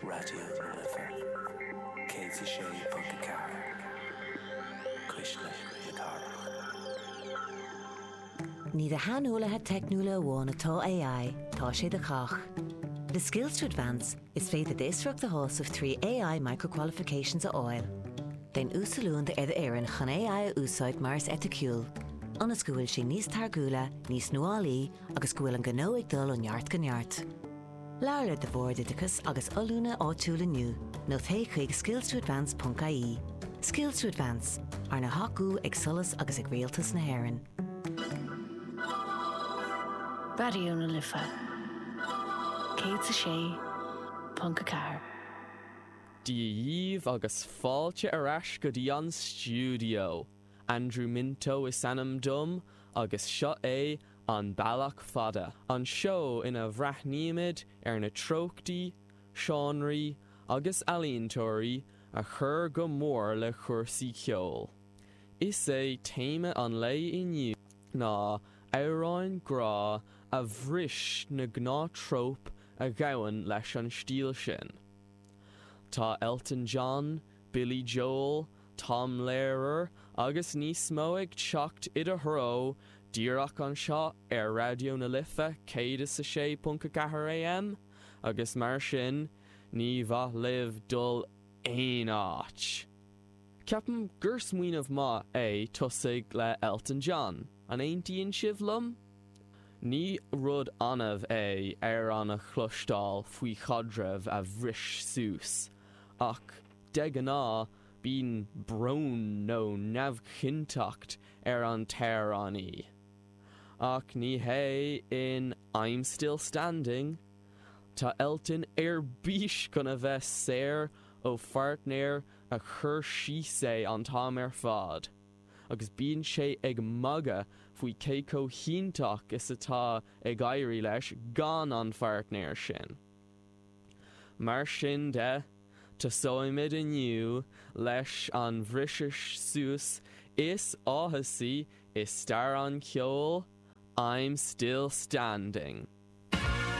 Raidió na Life 106.4, Cuisle na Cathrach. Ní do shaineolaithe teicniúla amháin atá AI, tá sé do chách. Le Skills to Advance, is féidir d'fhiosracht a shásamh 3 AI Micro-Qualifications a fháil. Déan uasoiliúint ar d'fhoireann chun AI a úsáid mar is eiticiúil, ionas go bhfuil sé níos táirgiúla, níos nuálaí agus go bhfuil an gnó ag dul ó neart go neart. Labhair le do Bhord Oideachais agus Oiliúna áitiúil inniu nó téigh chuig skillstoadvance.ie. Skills to Advance, arna thacú ag SOLAS agus ag Rialtas na hÉireann. Raidió na Life 106.4. Dia dhíbh agus fáilte ar ais go dtí an stiúideo! Andrew Minto is ainm dom agus seo é An Bealach Fada, an seó ina bhreathnaímid ar na treochtaí, seánraí agus ealaíontóirí a chuir go mór le cúrsaí ceoil. Is é téama an lae inniu ná amhráin grá a bhris na gnáth-tróip a ghabhann leis an stíl sin. Tá Elton John, Billy Joel, Tom Lehrer agus níos mó ag teacht i do threo díreach anseo ar Raidió na Life 106.4 AM agus mar sin ní mhaith libh dul aon áit. Ceapaim gur smaoineamh maith é tosaigh le Elton John, an aontaíonn sibh liom? Ní rud annamh é amhrán a chloisteáil faoi chaidreamh a bhris suas, ach de ghnáth bíonn brón nó neamhchinnteacht ar an t-amhránaí. Ach ní hé in I'm Still Standing. Tá Elton ar bís chun a bheith saor ó pháirtnéir a chuir síos é an t-am ar fad, agus bíonn sé ag magadh faoi cé chomh hiontach is atá ag éirí leis gan an pháirtnéir sin. Mar sin de, tosóimid inniu leis an bhriseadh suas is áthasaí i stair an cheoil, I'm Still Standing.